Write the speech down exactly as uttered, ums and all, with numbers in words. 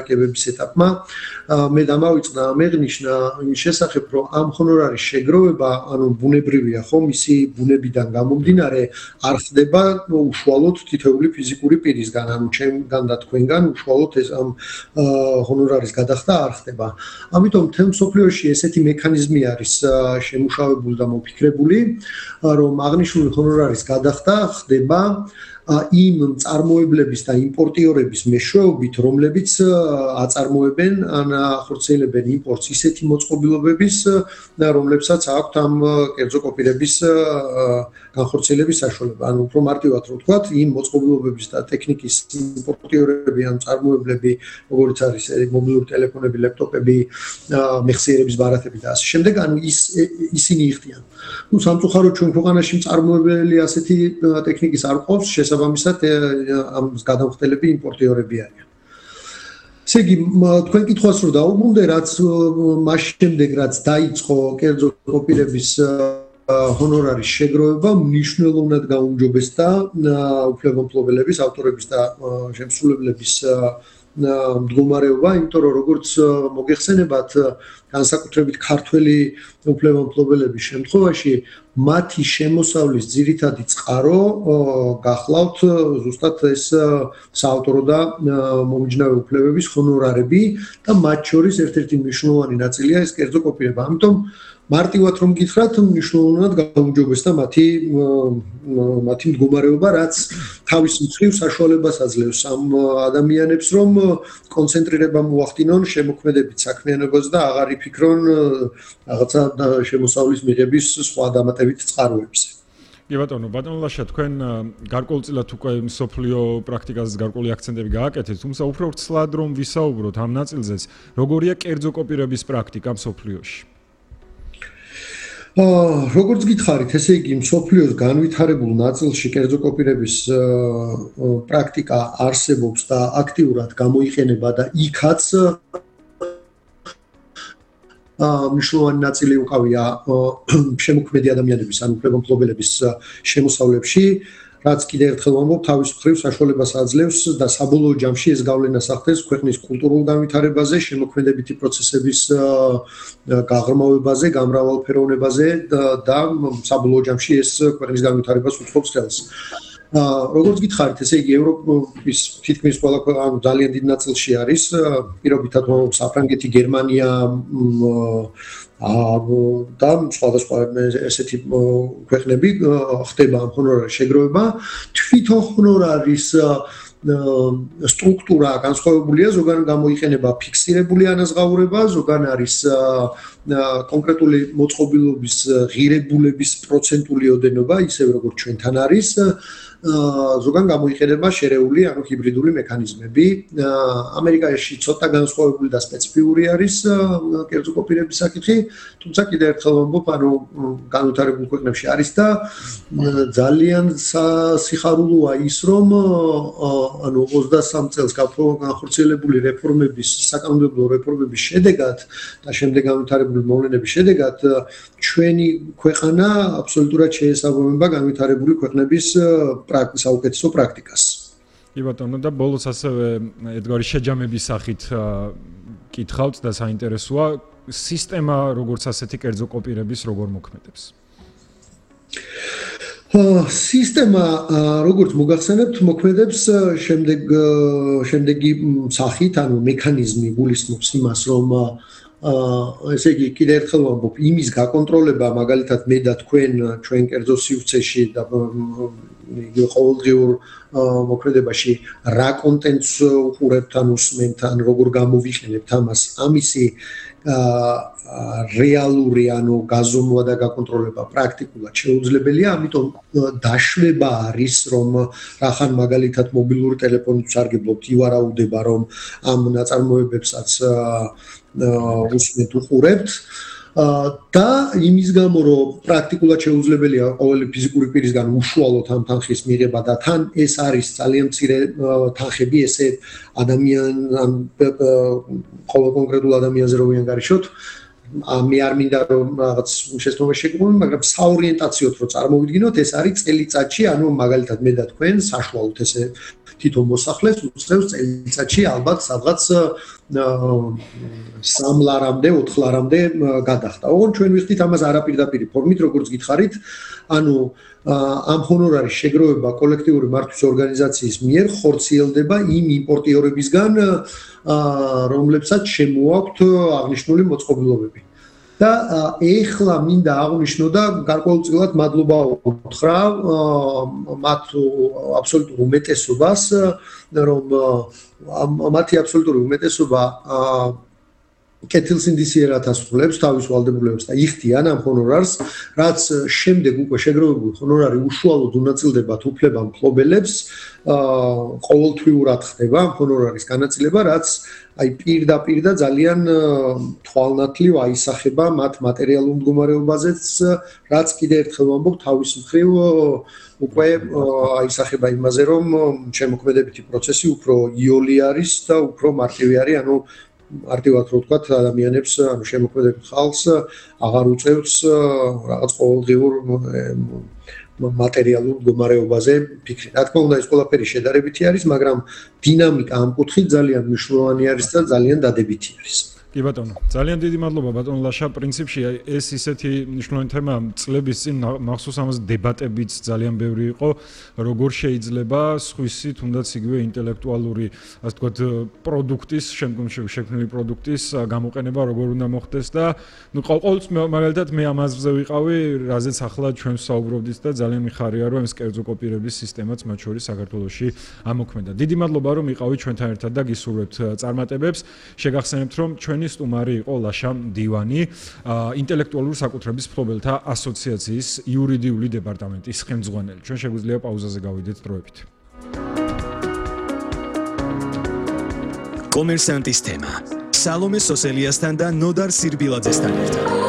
მოლაპარაკებების ეტაპმა მე დამავიწყდა ამეღნიშნა იმის შესახებ, რომ ამ ჰონორარის შეგროვება, ანუ ბუნებრივია ხო, მისი ბუნებიდან გამომდინარე არ ხდება უშუალოდ თითოეული ფიზიკური პირისგან, ანუ ჩემგან და თქვენგან უშუალოდ ეს ამ ჰონორარის გადახდა არ ხდება. ამიტომ მთელ მსოფლიოში ესეთი მექანიზმი არის შემუშავებული და მოფიქრებული, რომ აღნიშნული ჰონორარის გადახდა ხდება იმ წარმოებლების და იმპორტიორების მეშვეობით, რომლებიც აწარმოებენ ან ახორციელებენ იმპორტს ისეთი მოწყობილობების, რომლებსაც აქვთ ამ კერძო კოპირების განხორციელების საშუალება. ანუ უფრო მარტივად რო ვთქვათ, იმ მოწყობილობების და ტექნიკის იმპორტიორები ან წარმოებლები, როგორც არის მობილური ტელეფონები, ლეპტოპები, მეხსიერების ბარათები და ასე შემდეგ, ანუ ის ისინი იხდიან. ნუ სამწუხაროდ ჩვენ ქვეყანაში მწარმოებელი ასეთი ტექნიკის არ ყავს, შესაბამისად ამ გადამხდელები იმპორტიორები არიან. ესე იგი, თქვენ კითხვას რო დაუბრუნდე, რაც მას შემდეგ რაც დაიწყო კერძო კოპირების ჰონორარის შეგროვება, მნიშვნელოვნად გაუმჯობესდა უფლებამფლობელების, ავტორების და შემსრულებლების მდგომარეობა, იმიტომ რომ როგორც მოგეხსენებათ, განსაკუთრებით ქართველი უფლებამფლობელების შემთხვევაში მათი შემოსავლის ძირითადი წყარო გახლავთ ზუსტად ეს საავტორო და მომიჯნავე უფლებების ჰონორარები და მათ შორის ერთ-ერთი მნიშვნელოვანი ნაწილია ეს კერძო კოპირება. ამიტომ მარტივად რომ გითხრათ, მნიშვნელოვნად გაუმჯობესდა მათი მათი მდგომარეობა, რაც თავის მხრივ საშუალებას აძლევს ამ ადამიანებს, რომ კონცენტრირება მოახდინონ შემოქმედებით საქმიანობაზე და აღარ იფიქრონ რაღაცა შემოსავლის მიღების სხვა დამატებით წყაროებზე. კი ბატონო, ბატონო ლაშა, თქვენ გარკვეულწილად უკვე მსოფლიო პრაქტიკაზე გარკვეული აქცენტები გააკეთეთ, თუმცა უფრო ვრცლად რომ ვისაუბროთ ამ ნაწილზეც, როგორია კერძო კოპირების პრაქტიკა მსოფლიოში? როგორც გითხარით, ესე იგი, მსოფლიოს განვითარებულ ნაწილში კერძო კოპირების პრაქტიკა არსებობს და აქტიურად გამოიყენება და იქაც მნიშვნელოვანი ნაწილი უკავია შემოქმედი ადამიანების, ან უფლებამფლობელების შემოსავლებში, რაც კიდევ ერთხელ ვამბობ, თავის მხრივ საშუალებას აძლევს და საბოლოო ჯამში ეს გავლენას ახდენს ქვეყნის კულტურულ განვითარებაზე, შემოქმედებითი პროცესების გაღრმავებაზე, გამრავალფეროვნებაზე და საბოლოო ჯამში ეს ქვეყნის განვითარებას უწყობს ხელს. როგორც გითხარით, ესე იგი, ევროპის თითქმის ყველა ანუ ძალიან დიდ ნაწილში არის, პირობითად ვამბობ, საფრანგეთი, გერმანია და სხვადასხვა ესეთი ქვეყნები ხდება ამ ჰონორარის შეგროვება. თვითონ ჰონორარის სტრუქტურა განსხვავებულია, ზოგან გამოიყენება ფიქსირებული ანაზღაურება, ზოგან არის კონკრეტული მოწყობილობის ღირებულების პროცენტული ოდენობა, ისევ როგორც ჩვენთან არის. ზოგან გამოიყენება შერეული, ანუ ჰიბრიდული მექანიზმები. ამერიკაში ცოტა განსხვავებული და სპეციფიური არის კერძო კოპირების საკითხი, თუმცა კიდევ ერთხელ ვამბობ, ანუ განვითარებულ ქვეყნებში არის და ძალიან სიხარულოა ის, რომ ანუ ოცდასამ წელს განხორციელებული რეფორმების, საკანონმდებლო რეფორმების შედეგად და შემდეგ განვითარებული მოვლენების შედეგად ჩვენი ქვეყანა აბსოლუტურად შეესაბამება განვითარებული ქვეყნების საუკეთესო პრაქტიკას. კი ბატონო, და ბოლოს ასევე ედგარი შეჯამების სახით კითხავთ და საინტერესოა სისტემა როგორც ასეთი კერძო კოპირების როგორ მოქმედებს. სისტემა როგორც მოგახსენებთ, მოქმედებს შემდეგ შემდეგი სახით, ანუ მექანიზმი გულისხმობს იმას, რომ ესე იგი, კიდევ ერთხელ ვამბობ, იმის გაკონტროლება, მაგალითად მე და თქვენ ჩვენ კერძო სივრცეში და იგივე ყოველდღიურ მოქმედებაში რა კონტენტს უყურებთ, ან უსმენთ, ან როგორ გამოვიყენებთ ამას, ამისი რეალური, ანუ გაზომვა და გაკონტროლება პრაქტიკულად შეუძლებელია, ამიტომ დაშვება არის, რომ რახან მაგალითად მობილური ტელეფონით ვსარგებლობთ, ივარაუდება, რომ ამ ნაწარმოებებსაც უსმენთ, უყურებთ. და იმის გამო, რომ პრაქტიკულად შეუძლებელია ყოველი ფიზიკური პირისგან უშუალოდ ამ თანხის მიღება და თან ეს არის ძალიან მცირე თანხები, ესე ადამიან ან ყოველ კონკრეტულ ადამიანზე რო ვიანგარიშოთ, მე არ მინდა რომ რაღაც შეცდომაში შეგმოვიდეთ, მაგრამ საორიენტაციოდ რო წარმოვიდგინოთ, ეს არის წელიწადში, ანუ მაგალითად მე და თქვენ საშუალოდ ესე თვითონ მოსახლეს უწევს წელიწადში ალბათ სადღაც სამ ლარამდე, ოთხ ლარამდე გადახდა. ოღონდ ჩვენ ვიხდით ამას არაპირდაპირი ფორმით, როგორც გითხარით, ანუ ამ ჰონორარის შეგროვება კოლექტიური მართვის ორგანიზაციის მიერ ხორციელდება იმ იმპორტიორებისგან, რომლებსაც შემოაქვთ აღნიშნული მოწყობილობები. და ეხლა მინდა აღვნიშნო და გარკვეულწილად მადლობა უთხრა მათ აბსოლუტურ უმეტესობას, რომ მათი აბსოლუტური უმეტესობა კეთილსინდისიერად ასრულებს თავის ვალდებულებას და იხდიან ამ ჰონორარს, რაც შემდეგ უკვე შეგროვებული ჰონორარი უშუალოდ უნაწილდებათ უფლება მფლობელებს, ყოველთვიურად ხდება ამ ჰონორარის განაწილება, რაც აი პირდაპირ და ძალიან თვალნათლივ აისახება მათ მატერიალურ მდგომარეობაზეც, რაც კიდევ ერთხელ ვამბობ, თავის მხრივ უკვე აისახება იმაზე, რომ შემოქმედებითი პროცესი უფრო იოლი არის და უფრო მარტივი არის, ანუ არტივად რო ვთქვათ, ადამიანებს, ანუ შემოქმედებით ხალხს აღარ უწევს რაღაც ყოველდღიურ მატერიალურ მდგომარეობაზე ფიქრი. რა თქმა უნდა, ეს ყველაფერი შედარებითი არის, მაგრამ დინამიკა ამ კუთხით ძალიან მნიშვნელოვანი არის და ძალიან დადებითი არის. კი ბატონო, ძალიან დიდი მადლობა ბატონო ლაშა. პრინციპში ეს ისეთი მნიშვნელოვანი თემა წლების წინ მახსოვს ამას დებატებიც ძალიან ბევრი იყო, როგორ შეიძლება სხვისი თუნდაც იგივე ინტელექტუალური, ასე ვთქვათ, პროდუქტის, შემდგომში შექმნილი პროდუქტის გამოყენება როგორ უნდა მოხდეს და ნუ ყოველთვის მაგალითად მე ამ აზრზე ვიყავი, რაზეც ახლა ჩვენ ვსაუბრობდით და ძალიან მიხარია, რომ ეს კერძო კოპირების სისტემაც მათ შორის საქართველოში ამოქმედა. დიდი მადლობა, რომ იყავით ჩვენთან ერთად და გისურვებთ წარმატებებს. შეგახსენებთ, რომ ჩვენ სტუმარი იყო ლაშა მდივანი, ინტელექტუალურ საკუთრების მფლობელთა ასოციაციის იურიდიული დეპარტამენტის ხელმძღვანელი. ჩვენ შეგვიძლია პაუზაზე გავიდეთ დროებით. კომერსანტის თემა. სალომე სოსელიასთან და ნოდარ სირბილაძესთან ერთად.